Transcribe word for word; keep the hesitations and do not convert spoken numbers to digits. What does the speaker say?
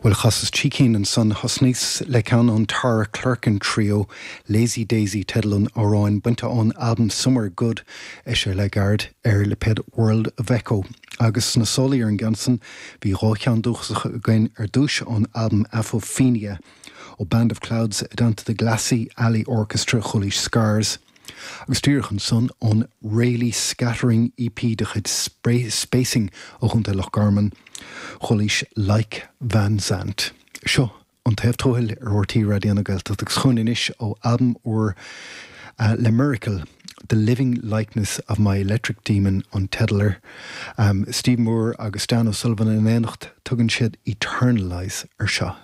Well chasas trí cinn ansan thosnaíos le ceann ón Tara Clerkin Trio, Lazy Daisy teideal an amhráin bainte ón albam Somewhere Good eisithe le gairid ar lipéad World of Echo. Agus sna sólaí ar an gceann san bhí dhá cheann dúchasacha againn ar dtús ón albam Apophenia ó Band of Clouds i dteannta The Glassey Alley Orchestra chualaís Scars. Agus díreach ansan ón Rayleigh Scattering EP de chuid Spacing ó Chontae Loch Garman, chualaís Like Van Zandt. Seo an taobh tuathail ar RTÉ Raidió na Gaeltachta agus chugainn anois ó albam úr uh, le Miracle, The Living Likeness of My Electric Demon an teideal air. Um, Steve Moore agus Dan O'Sullivan in éineacht tugann siad Eternalize ar seo.